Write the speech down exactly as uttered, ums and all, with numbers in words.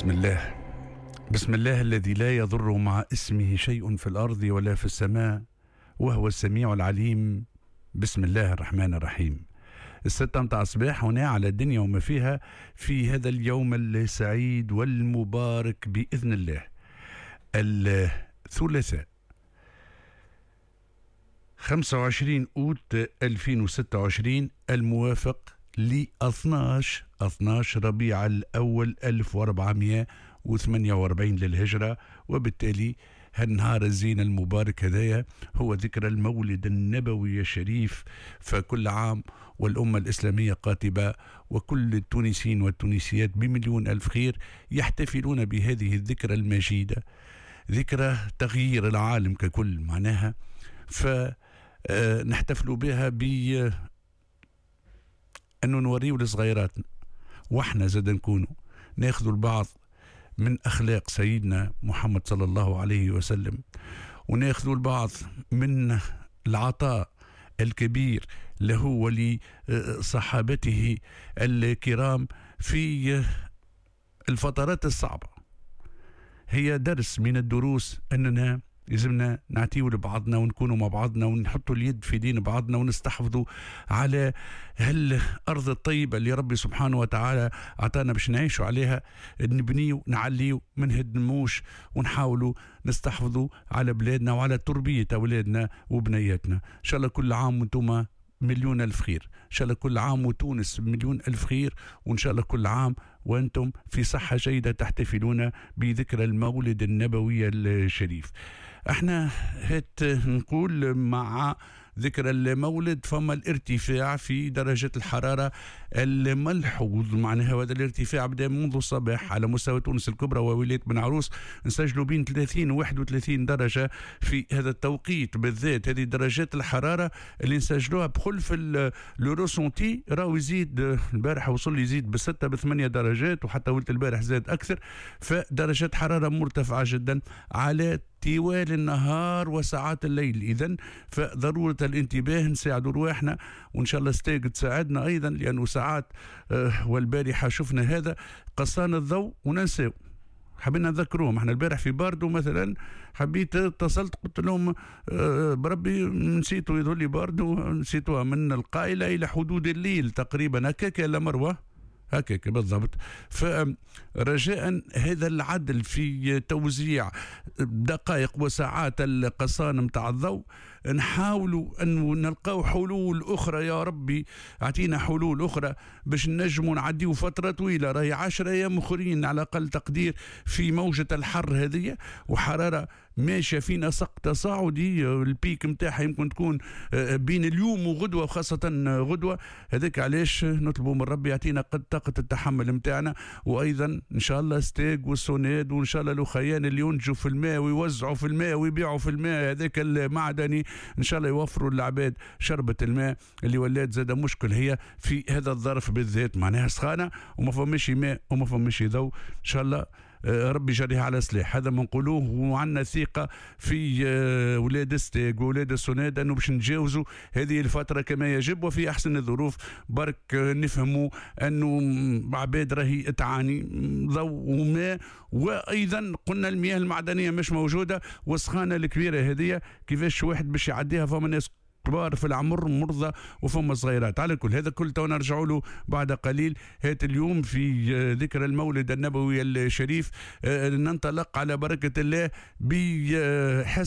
بسم الله، بسم الله الذي لا يضر مع اسمه شيء في الأرض ولا في السماء وهو السميع العليم. بسم الله الرحمن الرحيم. الستة متاع الصباح هنا على الدنيا وما فيها في هذا اليوم السعيد والمبارك بإذن الله، الثلاثاء خمسة وعشرين أوت ألفين وستة وعشرين الموافق ل اثناش اثناش ربيع الأول ألف وأربعمائة وثمانية وأربعين للهجرة. وبالتالي هالنهار الزين المبارك هذايا هو ذكرى المولد النبوي الشريف، فكل عام والأمة الإسلامية قاتبة وكل التونسيين والتونسيات بمليون ألف خير يحتفلون بهذه الذكرى المجيدة، ذكرى تغيير العالم ككل معناها، فنحتفل بها ب أنه نوريو لصغيراتنا واحنا زاد نكونوا ناخذ البعض من أخلاق سيدنا محمد صلى الله عليه وسلم، وناخذ البعض من العطاء الكبير له ولصحابته الكرام في الفترات الصعبة. هي درس من الدروس أننا لازمنا نعطيو لبعضنا ونكونوا مع بعضنا ونحطوا اليد في دين بعضنا ونستحفظوا على هالأرض الطيبة اللي ربي سبحانه وتعالى أعطانا باش نعيشوا عليها، نبنيو نعليو ما نهدموش، ونحاولوا نستحفظوا على بلادنا وعلى تربية أولادنا وبنياتنا. إن شاء الله كل عام وانتم مليون ألف خير، إن شاء الله كل عام وتونس مليون ألف خير، وإن شاء الله كل عام وأنتم في صحة جيدة تحتفلون بذكرى المولد النبوي الشريف. احنا هات نقول مع ذكرى المولد فما الارتفاع في درجة الحرارة الملحوظ، معناها هذا الارتفاع بدأ منذ الصباح على مستوى تونس الكبرى وولاية بن عروس، نسجلوا بين ثلاثين و واحد وثلاثين درجة في هذا التوقيت بالذات. هذه درجات الحرارة اللي نسجلوها بخلف le ressenti راهو يزيد، البارح وصل يزيد بستة بثمانية درجات، وحتى ولت البارح زاد أكثر، فدرجات حرارة مرتفعة جدا على طوال النهار وساعات الليل. إذن فضرورة الانتباه، نساعدوا رواحنا، وإن شاء الله ستاق تساعدنا أيضا، لأنه ساعات والبارحة شفنا هذا قصان الضوء وننساو، حبينا نذكروهم. احنا البارح في باردو مثلا حبيت اتصلت قلت لهم بربي نسيتوا، يظهر لي باردو نسيتوها من القائلة إلى حدود الليل تقريبا هكاك لا مروة هكاك بالضبط. فرجاء هذا العدل في توزيع دقائق وساعات القصان متاع الضوء، نحاولوا أن نلقاو حلول أخرى. يا ربي أعطينا حلول أخرى باش نجموا نعديو فترة طويلة، راهي عشرة أيام أخرين على أقل تقدير في موجة الحر هذه، وحرارة ماشية في نسق تصاعدي، البيك متاعها يمكن تكون بين اليوم وغدوة، وخاصة غدوة. هذاك علاش نطلبوا من ربي يعطينا قد طاقة التحمل متاعنا، وأيضا إن شاء الله ستاق والسوناد، وإن شاء الله الأخيان اللي ينتجوا في الماء ويوزعوا في الماء ويبيعوا في الماء هذاك المعدني، إن شاء الله يوفروا للعباد شربة الماء اللي ولات زاد مشكل هي في هذا الظرف بالذات، معناها سخانة وما فماش ماء وما فماش ضوء. إن شاء الله ربي جريها على سلاح، هذا ما نقولوه، وعندنا ثقة في ولاد ستاق وولاد السوناد أنه باش نتجاوزوا هذه الفترة كما يجب وفي أحسن الظروف. برك نفهموا أنه عباد راهي تعاني ضوء وماء، وأيضا قلنا المياه المعدنية مش موجودة، والسخانة الكبيرة هذه كيفاش واحد باش يعديها، فما ناس كبار في العمر مرضى وفما صغيرات. على كل هذا كل تو نرجعوا له بعد قليل. هات اليوم في ذكرى المولد النبوي الشريف ننطلق على بركة الله بحس